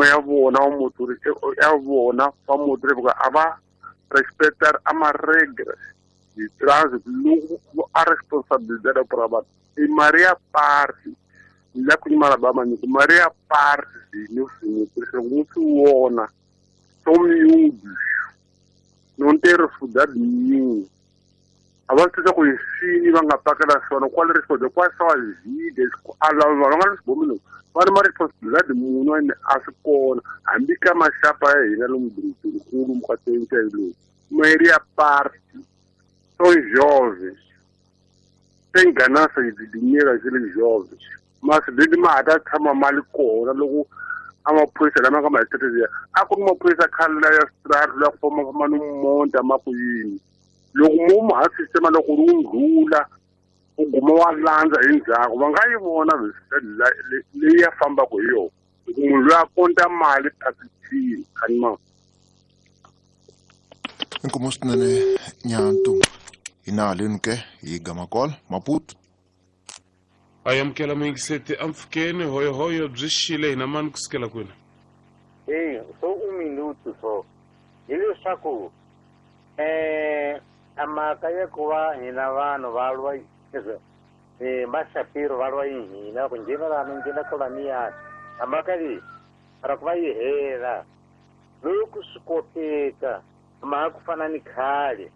Ya vona wa motori ya vona va motori a va respectar a ma-regras de trânsito loko a responsabilidade para vanhu i mali ya party la ku nyimala ba manyiko mali ya party no swi loko mu swi vona são miúdos não tem responsabilidade nenhuma. A va swi tisa ku hi swini va nga pakela swona kwale responsabilidade quais são as vidas a lava va nga ri va ri ma responsibilidade munhu ene a swi kona hambi ka maxapa ya hina lomu dorobeni mukatsenca lowu maeri ya party são jovens tem ganância de dinheiro aqueles jovens mas leti ma ha ta tshama mali kona loko a maphorisa lama nga ma hetelela a ku ri maphorisa khale la ya strata la ku fambafamba ni monta ma ku yini loko mo mu ha sistema loko ri wu ndlula u guma wa landza hi ndzhaku va nga yi vona leyi ya fambaka hi yona loko munhu loyi a konta mali phakithini khanima. Inkomo swinene nyantu hina haleni ke hi gamakola Maputo. A amukela muyingiseti ampfukeni hoyohoyo byi xile hina mani kusukela kwini? Eyi so un minuto so hileswaku a mhaka ya ku va hina vanhu va lwa maxapiro va lwa yi hina ku nghena lana nghena kolaniyani a mhaka leyi ra ku va yi hela loko swi koteka mhaka ku fana ni khale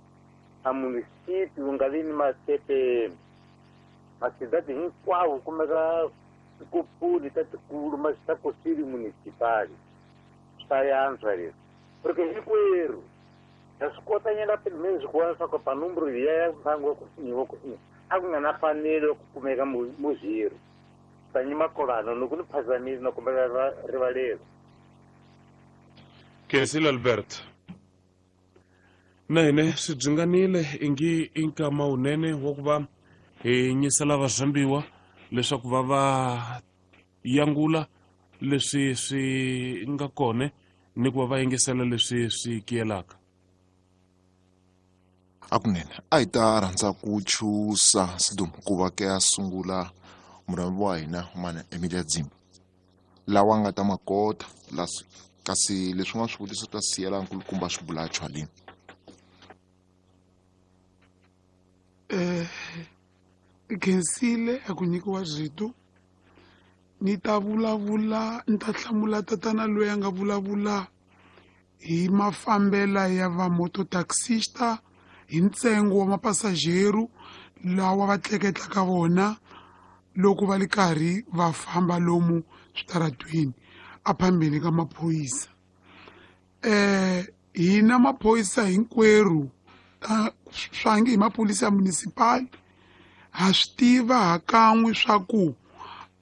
a munisipi wu nga vi ni matepeni masidadi hinkwawo kumeka tikopuli ta tikulu ta kosili municipali swi ta yantswa leswi porque hinkwerhu ha swi kota nyana pelo menos ku vona leswaku panumbro liya ya mhangu wa kusinyiwa kusinyiwa a ku nga na fanelo ya ku kumeka muzhiri tanyima kolano loko ni phazamile na kombela rivalelo. Khensile Albert na hine swi byinganile ingi i nkama wunene wa ku va hi nyisela vazambiwa leswaku va va yangula leswi swi nga kona ni ku va va yingisela leswi swi kiyelaka. Akunene a hi ta rhandza ku chusa sidum ku va ke a sungula murhambi wa hina mana Emilia Dzimba lawa nga ta makota kasi leswin'wana swivutiso ta siyela nkulukumba swi bula chwaleni. Khensile a ku nyikiwa rito ni ta vulavula ni ta hlamula tatana loyi a nga vulavula hi mafambela ya va mototaxista hi ntsengo wa mapassageru lawa va tleketlaka vona loko va li karhi va famba lomu switaratweni a phambeni ka maphorisa. Hina maphorisa hinkwerhu swangi hi maphorisa ya municipal ha swi tiva hakan'we swa ku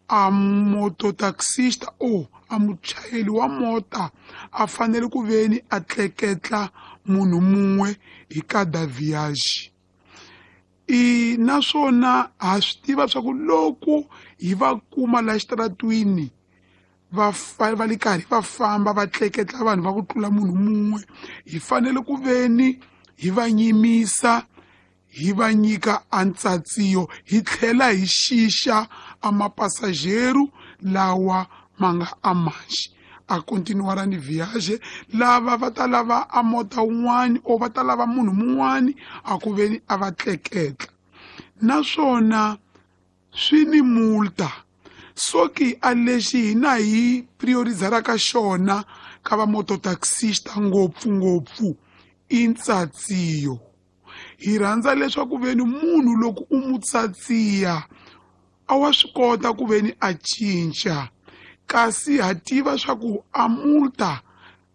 a mototaxista o a muchayeri wa mota a fanele ku veni a tleketla munhu mun'we hi kada viage. I naswona ha swi tiva swa ku loko hi va kuma la xitaratwini va li karhi va famba va tleketla vanhu va ku tlula munhu mun'we hi fanele ku veni hi va nyimisa hi va nyika antsatsiyo hi tlhela hi xixa a mapassageru lawa ma nga amanxi a continuara ni viage lava va ta lava a mota wun'wani o va ta lava munhu mun'wani a ku veni a va tleketla. Naswona swi ni multa soki a lexi hina hi priorizaraka xona ka va mototaxista ngopfungopfu i ntsatsiyo. Hi rhandza leswaku veni munhu loko u mu tsatsiya a wa swi kota ku veni a cinca kasi ha tiva swa ku a multa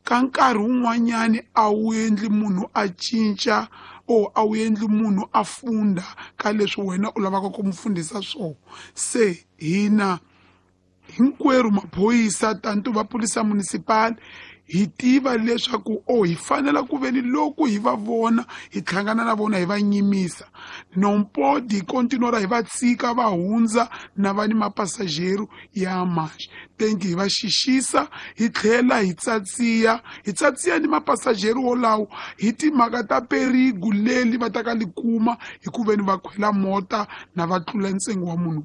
ka nkarhi wun'wanyani a wu endli munhu a cinca o a wu endli munhu a funda ka leswi wena u lavaka ku mu fundisa swona. Se hina hinkwerhu maphorisa tanto va polisa municipal hi tiva leswaku o hi fanela ku veni loko hi va vona hi hlangana na vona hi va nyimisa nompodi hi continuera hi va tshika va hundza na va ni mapassageru ya manxe thank you hi va xixisa hi tlhela hi tsatsiya ni mapassageru wolawo hi timhaka ta perigu leli va ta ka li kuma hi ku veni va khwela mota na va tlula ntsengo wa munhu.